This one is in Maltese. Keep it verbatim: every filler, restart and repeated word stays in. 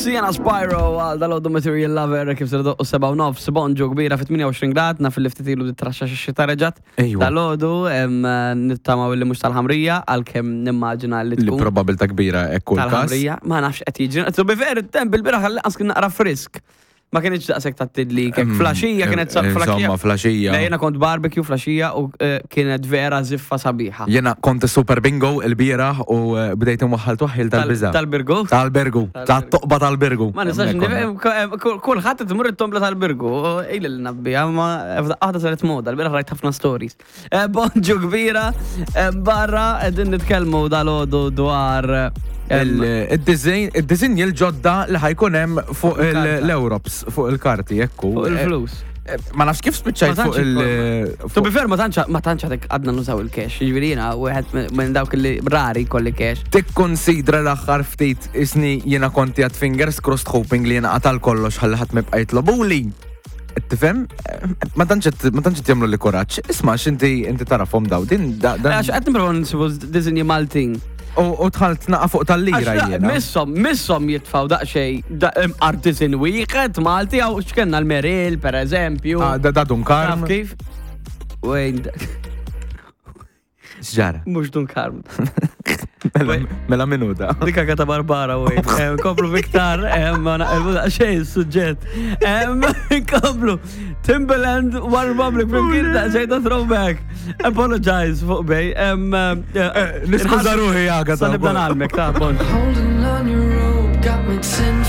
Sienna Spyro għal dal-għodu Material Lover kif ser doqqu seba' u nofs, bonġu kbira fit tmienja u għoxrin grad, naf li ftit ilu traxxa xi reġat. Ejwa. Dal-għodu nittamaw li mhux tal-ħamrija, għalkemm nimmaġina li Li tkun probabilta kbira ekku l-kas. Tal-ħamrija, ma nafx qed jiġri. To be fair, it-temp il-bieraħ għal kien naqra frisk. Ma kienx daqshekk ta' tidlik, Mm, flaxija kienet sa- flaxija. Insomma, flaxija. Le, jiena kont barbecue flaxija u eh, kienet vera ziffa sabiħa. Jena kont super bingo il-bieraħ u eh, bdejt imwaħħal twaħħil tal-biża. Tal-Birgu? Tal-Birgu. Tat-toqba tal-Birgu. Ma nistax Hemmhekk konna. nifhem, kulħadd tmur it-tombla tal-Birgu, ili l nabbija, ma għada saret moda, l-bieraħ rajt ħafna stories. Eh, Bonġu kbira, eh, barra qegħdin nitkellmu dal-għodu dwar eh, Il- Il-design il-design il-ġodda li ħa jkun hemm fuq il- Il-karta. l-Europs, fuq il-karti, ekku. Fuq il-flus. Eh, Ma nafx kif spiċċajt Ma tantx fuq il- To be fair, ma tantx ma tantx għadek għadna nużaw il-cash, jiġifieri jiena wieħed minn dawk li rari kolli cash. Tikkonsidra l-aħħar ftit isni jiena konti għad fingers crossed hoping li jiena qatal kollox ħalli ħadd ma jibqa' jitlobuli. Tifhem? Ma tantx qed- ma tantx qed jagħmlu li kuraġġ. Isma' x'inti inti tarafhom daw din da- dan. Għax qed nipprova nsibu disinji Maltin. U u dħalt naqa fuq tal-lira Għax jiena. Missom, missom jitfaw daqsxejn artisan wieħed Malti għaw x'kenna l-Meril, per eżempju. Ah, Da da Dun Karm. Taf kif? Wejn, X'ġara? Mhux Dun Karm. Mela mela minuta. Dika kata Barbara, wejn. Em, Komplu Viktar, em, ma naqilbu daqsxejn suġġett. Em, Komplu, Timbaland, One Republic, flimkien daqsxejn ta' throwback. Apologize fuq bej. Em, eh, Niskuża ruħi, Agata. Sa nibda nagħlmek, ta' bon. Holding on your rope got me ten